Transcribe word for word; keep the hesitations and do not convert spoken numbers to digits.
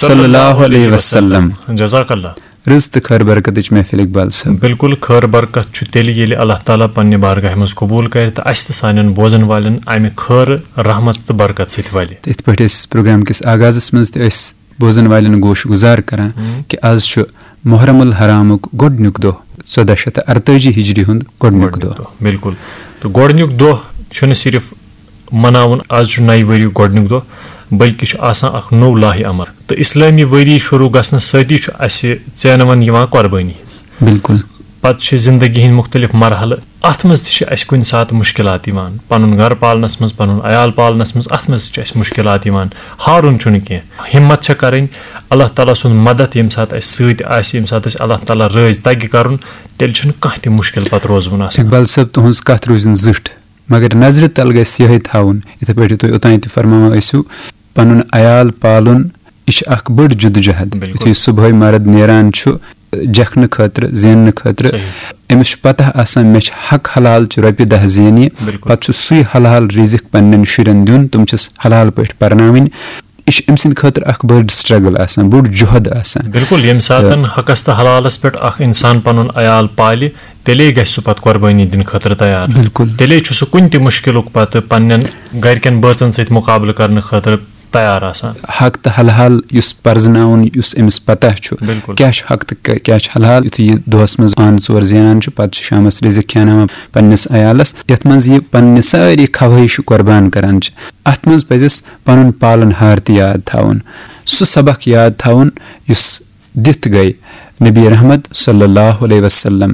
صلی اللہ علیہ وسلم۔ جزاک اللہ۔ رٕژ تہٕ خٲر برکتٕچ محفل اقبال صٲب۔ بالکل، خٲر برکت چھُ تیٚلہِ ییٚلہِ اللہ تعالیٰ پننہِ بارگاہہِ منٛز قبوٗل کرِ تہٕ اسہِ تہٕ سانٮ۪ن بوزن والٮ۪ن امہِ خٲر، رحمت تہٕ برکت سۭتۍ ولہِ۔ تہٕ یِتھ پٲٹھۍ أسۍ پروگرام کِس آغازس منٛز تہِ ٲسۍ بوزن والٮ۪ن گوش گُزار کران، ہم۔ کہِ از چھُ محرم الحرامُک گۄڈٕنیُک دۄہ، ژۄداہ شیٚتھ تہٕ ارتٲجی ہجری ہُنٛد گۄڈٕنیُک دۄہ۔ بالکل۔ تہٕ گۄڈٕنیُک دۄہ چھُنہٕ صرف مناوُن، از چھُ نَیہِ ؤریُک گۄڈٕنیُک دۄہ، بلکہِ چھُ آسان اکھ نوٚو لاہِ امر۔ تہٕ اسلٲمی ؤری شروع گژھنس سۭتی چھُ اسہِ ژینوان یِوان قۄربٲنی ہٕنٛز۔ بالکل۔ پتہٕ چھِ زندگی ہٕنٛدۍ مُختٔلِف مرحلہٕ۔ اتھ منٛز تہِ چھِ اسہِ کُنہِ ساتہٕ مُشکلات یِوان۔ پنُن گرٕ پالنس منٛز، پنُن عیال پالنس منٛز، اتھ منٛز تہِ چھِ اسہِ مُشکلات یِوان۔ ہارُن چھُنہٕ کینٛہہ، ہمت چھےٚ کرٕنۍ۔ اللہ تعالیٰ سُنٛد مدد ییٚمہِ ساتہٕ اسہِ سۭتۍ آسہِ، ییٚمہِ ساتہٕ اسہِ اللہ تعالیٰ رٲضۍ تگہِ کرُن، تیٚلہِ چھُنہٕ کانٛہہ تہِ مُشکل پتہٕ روزوُن آسان۔ اقبال صٲب، تُہٕنٛز کتھ روٗزِن زِٹھ، مگر نظرِ تل گژھِ یِہے تھاوُن، یِتھے پٲٹھۍ تُہۍ اوٚتانۍ تہِ فرماوان ٲسِو، پنُن عیال پالُن، یہِ چھِ اکھ بٔڑ جدوجہد۔ بالکل۔ یُتھُے صُبحٲے مرد نیران چھُ جکھنہٕ خٲطرٕ، زیننہٕ خٲطرٕ، صحیح۔ أمِس چھُ پتہ آسان مےٚ چھِ حق حلال چہِ رۄپیہِ دَہ زینہِ، بالکل۔ پتہٕ چھُ سُے حلال رِزِق پننٮ۪ن شُرٮ۪ن دیُن، تِم چھِس حلال پٲٹھۍ پرناوٕنۍ۔ یہِ چھُ أمۍ سٕنٛدِ خٲطرٕ اکھ بٔڑ struggle آسان، بوٚڑ جُہد آسان۔ بالکل، ییٚمہِ ساتَن حقس تہٕ حلالس پٮ۪ٹھ اکھ انسان پنُن عیال پالہِ، تیٚلے گژھِ سُہ پتہٕ قۄربٲنی دِنہٕ خٲطرٕ تیار۔ بالکل۔ تیٚلے چھُ سُہ کُنہِ تہِ مُشکِلُک پتہٕ پننٮ۪ن گرِکٮ۪ن بٲژن سۭتۍ مُقابلہٕ کرنہٕ خٲطرٕ تیار آسان۔ حق تہٕ حلال یُس پرزناوُن، یُس أمِس پتہ چھُ، بالکل۔ کیٛاہ چھُ حق تہٕ کیٛاہ، کیٛاہ چھُ حلال، یُتھُے یہِ دۄہس منٛز آن ژور زینان چھُ، پتہٕ چھُ شامس رِزق کھیاناوان پننِس عیالس، یتھ منٛز یہِ پننہِ سٲری خواہش قۄربان کران چھِ۔ اتھ منٛز پزٮ۪س پنُن پالن ہار تہِ یاد تھاوُن، سُہ سبق یاد تھاوُن یُس دِتھ گٔے نبی رحمت صلی اللہ علیہ وسلم۔